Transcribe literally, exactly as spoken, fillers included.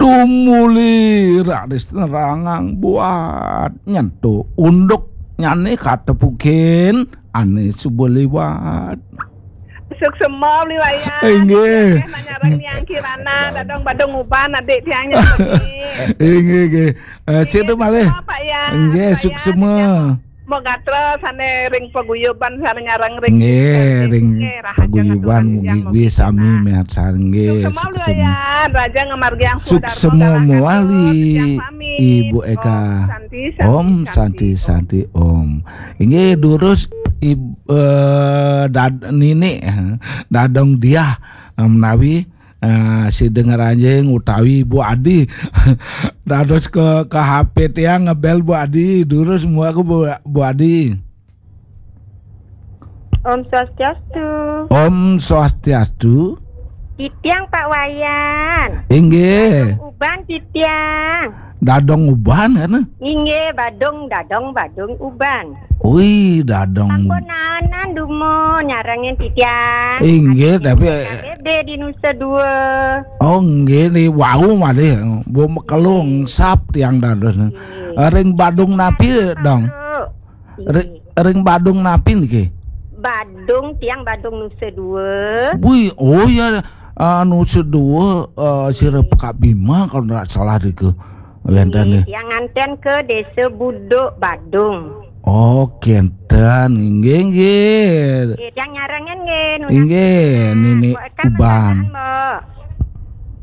Umuli raris nerangang buat nyentuk unduk nyane katepukin ane suba liwat. Suksema beli wayah. Inggih. Nggih, manyareng Yang Kirana, dadong badung uban adik tiangnya. Inggih, nggih. Eh, sida malih. Suksema, Pak Yan. Nggih, suksema. Mau gatra sane ring paguyuban sane nyareng ring. Nggih, ring paguyuban mugi-mugi sami miharsa nggih. Suksema, Pak Yan. Raja ngamargiang suksema mawali, Ibu Eka. Om Santi, Santi, Om. Inggih, durus Ib-, eh, dad-, Nini, eh, Dadong Diah, eh, menawi, eh, sida ngranjing utawi Bu Adi. Dados ke, ke H P tiang ngebel Bu Adi, durus muaka Bu, Bu Adi. Om Swastiastu. Om Swastiastu. Titiang Pak Wayan. Inggih. Uban titiang. Dadong uban kan? Inggih, badung, dadong, badung, uban. Ui, dadong. Sampun naenan dumun nyarengin titiang. Inggih, tapi K B B di Nusa Dua. Oh, nggih, ni wau malih. Bu mekelung sap tiang dados. Ring badung napi, Dong? Ri-, ring badung napi niki? Badung, tiang badung Nusa Dua. Bui, oh ya, ah, Nusa Dua, eh, sira Pekak Bima kalau ndak salah niku. Wenten nggih, nggih. Tiang nganten ke Desa Buduk, Badung. Oh, kenten. Inggih, inggih. Nggih, tiang nyarengin nggih, nunas. Inggih, Nini Mbok Eka Uban. Mendadak, Mbok.